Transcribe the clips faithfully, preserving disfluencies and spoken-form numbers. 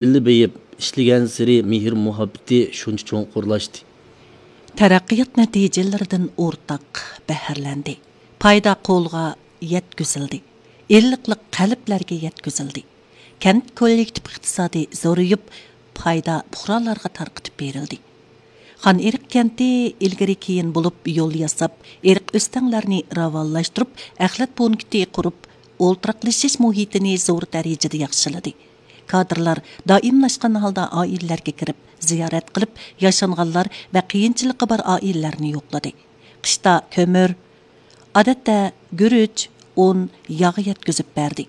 بىللە بېيىپ ئىشلىگەنسېرى مېھىر-مۇھەببىتى شۇنچە چوڭقۇرلاشتى. تەرەققىيات نەتىجىلىرىدىن ئورتاق بەھرىلەندى. پايدا قولغا يەتكۈزۈلدى. ئىللىقلىق قەلبلەرگە يەتكۈزۈلدى. كەنت كوللېكتىپ ئىقتىسادى زورىيىپ، پايدا پۇقرالارغا تارقىتىپ بېرىلدى. خان ئېرىق كەنتى ئىلگىرى كېيىن بولۇپ يول ياساپ، ئېرىق ئۆستەڭلەرنى راۋانلاشتۇرۇپ، ئەخلەت پونكىتى قۇرۇپ، ئولتۇراقلىشىش مۇھىتىنى زور دەرىجىدە ياخشىلىدى. كادىرلار دائىملاشقان ھالدا ئائىلىلەرگە كىرىپ، زىيارەت قىلىپ، ياشانغانلار ۋە قىيىنچىلىقى بار ئائىلىلەرنى يوقلىدى. قىشتا كۆمۈر، ئادەتتە گۈرۈچ، ئۇن، ياغ يەتكۈزۈپ بەردى.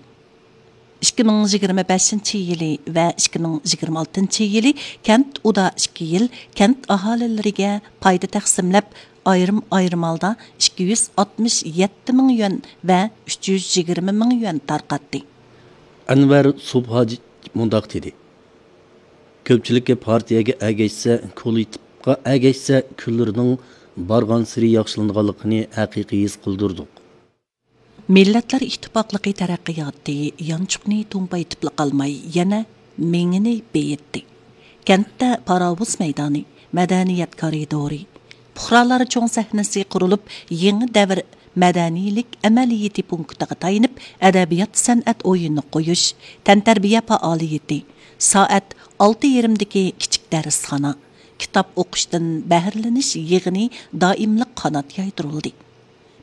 ئىككى مىڭ يىگىرمە بەشىنچى يىلى ۋە ئىككى مىڭ يىگىرمە ئالتىنچى يىلى كەنت ئۇدا ئىككى يىل كەنت ئاھالىلىرىگە پايدا تەقسىملەپ، ئايرىم-ئايرىم ھالدا ئىككى يۈز ئاتمىش يەتتە مىڭ يۈەن ۋە ئۈچ يۈز يىگىرمە مىڭ يۈەن تارقاتتى. ئەنۋەر سوبھاجى مۇنداق دېدى: كۆپچىلىككە پارتىيەگە ئەگەشسە، كوللېكتىپقا ئەگەشسە، كۈنلىرىنىڭ بارغانسېرى ياخشىلىنىدىغانلىقىنى ھەقىقىي ھېس قىلدۇردۇق. مىللەتلەر ئىتتىپاقلىقى تەرەققىياتى يانچۇقنى تومپايتىپلا قالماي، يەنە مېڭىنى بېيىتتى. كەنتتە پاراۋۇز مەيدانى، مەدەنىيەت كارىدورى، پۇقرالار چوڭ سەھنىسى قۇرۇلۇپ، يېڭى دەۋر مەدەنىيلىك ئەمەلىيىتى پونكىتىغا تايىنىپ، ئەدەبىيات-سەنئەت ئويۇنى قويۇش، تەنتەربىيە پائالىيىتى، سائەت ئالتە يېرىمدىكى كىچىك دەرسخانا، كىتاب ئوقۇشتىن بەھرىلىنىش يىغىنى دائىملىق قانات يايدۇرۇلدى.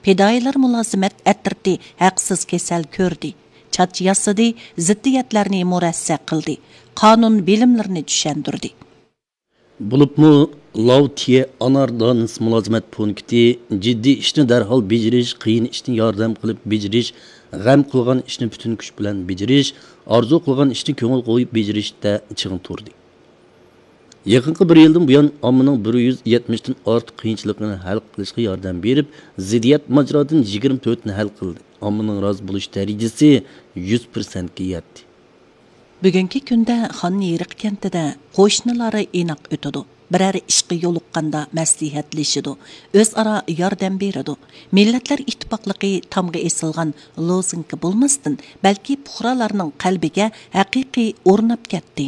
پىدائىيلار مۇلازىمەت ئەترىتى ھەقسىز كېسەل كۆردى، چاچ ياسىدى، زىددىيەتلەرنى مۇرەسسە قىلدى، قانۇن بىلىملىرىنى چۈشەندۈردى. بولۇپمۇ لاۋ تىيە ئانار دانىسى مۇلازىمەت پونكىتى جىددىي ئىشنى دەرھال بېجىرىش، قىيىن ئىشنى ياردەم قىلىپ بېجىرىش، غەم قىلغان ئىشنى پۈتۈن كۈچ بىلەن بېجىرىش، ئارزۇ قىلغان ئىشنى كۆڭۈل قويۇپ بېجىرىشتە چىڭ تۇردى. يېقىنقى بىر يىلدىن بۇيان، ئاممىنىڭ بىر يۈز يەتمىشتىن ئارتۇق قىيىنچىلىقىنى ھەل قىلىشقا ياردەم بېرىپ، زىددىيەت ماجىرادىن يىگىرمە تۆتىنى ھەل قىلدى. ئاممىنىڭ رازى بولۇش دەرىجىسى يۈز پىرسەنتكە يەتتى. بۈگۈنكى كۈندە خان ئېرىق كەنتىدە قوشنىلار ئىناق ئۆتىدۇ. بىرەر ئىشقا يولۇققاندا مەسلىھەتلىشىدۇ، ئۆزئارا ياردەم بېرىدۇ. مىللەتلەر ئىتتىپاقلىقى تامغا ئېسىلغان لوزۇنكا بولماستىن، بەلكى پۇقرالارنىڭ قەلبىگە ھەقىقىي ئورناپ كەتتى.